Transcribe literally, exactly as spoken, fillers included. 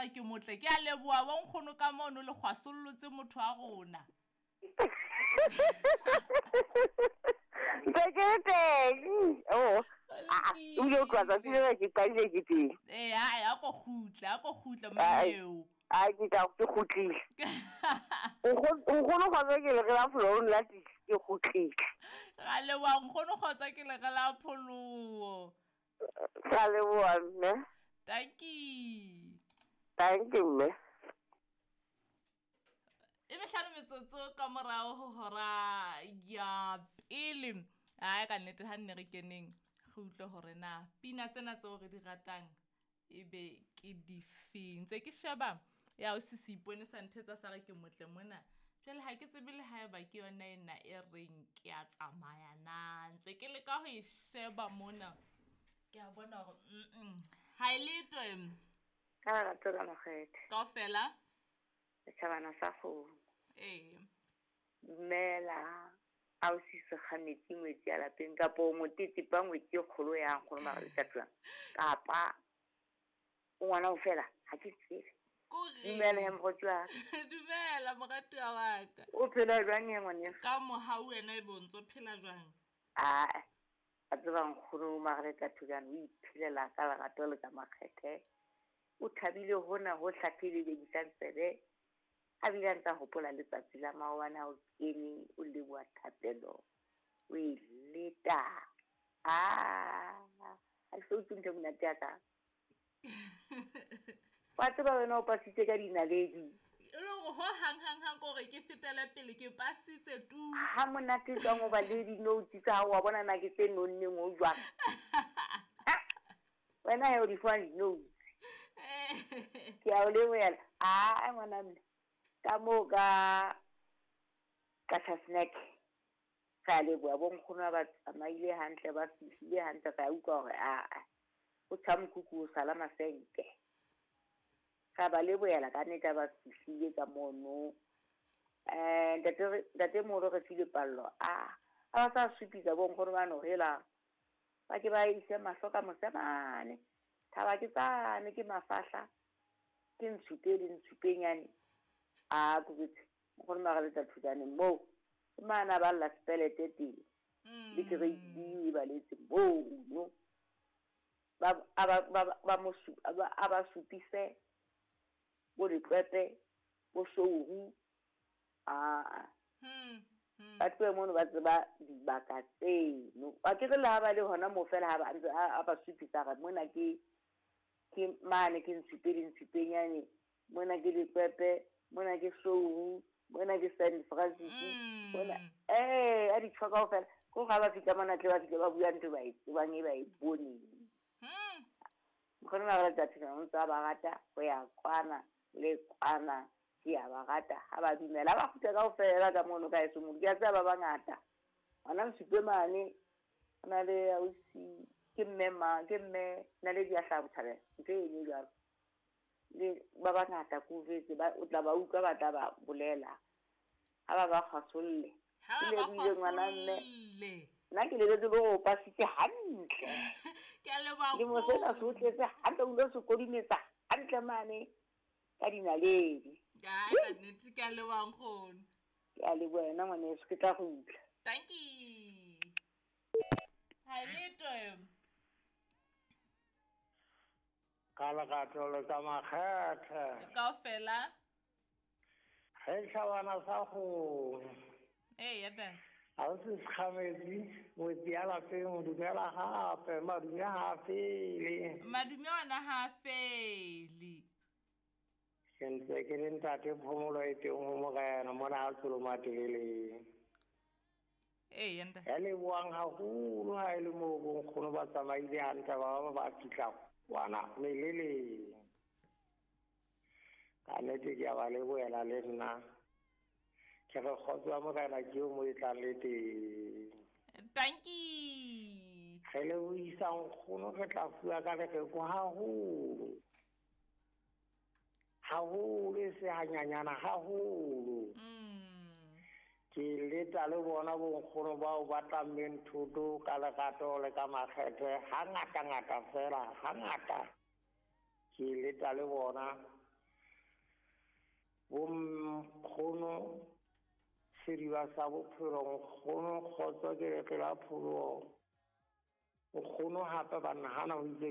Ke motle ke a leboha bo nkgono ka mono le kgwasollotse motho wa rona. Ntse ke le teng. Oh. Ah, o ile o tloha tsatsi lena ke qadile ke teng. Ee, ae a ko kgutle, a ko kgutle mmeo. Ai ke tla ke kgutlile. Nkgono kgotsa ke le la pholoho la ke kgutlile. Ra leboha nkgono kgotsa ke le la pholoho. Ra leboha mme. Tanki. Thank you mme. E mehlano metsotso ka morao ho hora ya pele. Ai ka nnete ha nne re keneng re utlwe hore na pina tsena tseo re di ratang ebe ke difeng. Ntse ke sheba ya o sisi ipone sa nthetsa sa re ke motle mona. Jwale ha ke tsebe le haeba ke yona ena e reng ke a tsamaya na. Ntse ke leka ho e sheba mona. Ke a bona hore mm ha e letho em. Ka lerato la Makgethe. Kaofela setjhabana sa kgomo. Ee. Dumela. A o sise kgametsi ngwetsi ya lapeng kapa o motetepa ngwetsi e kgolo ya nkgono mara le tatuang. Kapa o ngwana o fela ha ke tsebe. Dumela ya morati wa ka. Dumela morati wa ka. O phela jwang ya ngwaneso? Ka mohau wena e bontso phela jwang? Ah, a tseba nkgono mara le tatuang o iphelela ka lerato le ka Makgethe. O thabile hona ho hlaphile le disang tsebe. A bile a ntsa hopola letsatsi la maobane ha o kene o leboha thapelo o e leta. Ah, ha ke so utlwe ntho e monate ya ka. Wa tseba wena o pasitse ka dinaledi. E le hore ho hang hang hang kore ke fetele pele ke pasitse tu. Ha monate jwang o ba le di-notes tsa hao wa bona na ke tse nonneng ho jwang. Wena he o di fumana di-notes. Ke a o lebohela. Ah, ngwana mme. Ka moo ka ka snack ka leboha bo nkgono ba tsamaile hantle ba fihlile hantle ka utlwa hore a o tjha mokhukhung o sala masenke. Ka ba lebohela ka nnete ba fihlile ka mono. Eh ntate ntate Moro re file pallo. A a ba sa supisa bo nkgono ba no hela. Ba ke ba ise mahlo ka mosemane. Thaba ke tsane ke mafahla. Ke ntshupe le ntshupenyane. A kubitse nkgono mara le tla thutane moo. Mana ba la spelete teng. Le grade B ba letse moo. Ba ba ba ba mo ba ba supise bo diqepe bo souru a hmm ba tlohe mono ba tseba dibaka tseno. Ba ke re le ha ba le hona moo fela ha ba ntse a ba supisa re mona ke ke mane ke ntshupe le ntshupenyane mona ke diqepe mona ke souru mona ke Saint Francis mona eh a di tshoka kaofela ko ga ba fitla mona tle ba fihle ba bua ntho ba e tsebang e ba e boneng. Hmm. Nkgono mara le tla o ntse ba rata ho ya kwana le kwana ke a ba rata ha ba dumela ba kgutla kaofela ka mono ka eso motho ke a tseba ba bangata. Ngwana nsupe mane o na le ausi ke mme ma ke mme na le dia hlaha bothabela ntho e ne jwalo. Le ba bangata ko jwetse ba o tla ba utlwa ba tla ba bolela ha ba ba kgasolle. Ha ba ngwana mme kgasolle. Nna ke lebetse le hore o pasitse hantle. Ke a leboha Le mo sena se o tletse hantle o lo se kodimetsa hantle mane ka dinaledi. Ai ka nnete ke a leboha nkgono. Ke a leboha wena ngwaneso ke tla kgutla. Tanki. Ha letho. Ka lerato le ka Makgethe. Kaofela. Ge tlhabana sa kgomo. Ee ya teng. Ha o se kgametsi ngwetsi ya lapeng dumela hape madume ha fele. Madume ona ha fele. Ke ntse ke le ntate phomolo e teng ho morena mona ha tsolo mateleleng. Ee ya ntate. Ya lebohang haholo ha e le moo bo nkgono ba tsamaile hantle ba ba ba fihla kwana meleleng. Ka nnete ke a ba lebohela le nna. Ke re kgotso ya morena ke eo mo e tlang le teng. Tanki. Re lebohisa nkgono re tla fuwa ka lereko haholo. Haholo e se hanyanyana haholo. Mm. Ke leta le bona bo nkgono bao ba tlammeng thoto ka lerato le ka Makgethe hangata ngata fela hangata. Ke leta le bona Bonkgono Seriba sa bophelo, nkgono Kgotso ke re pela pholoho. Nkgono hape banna hana ho itse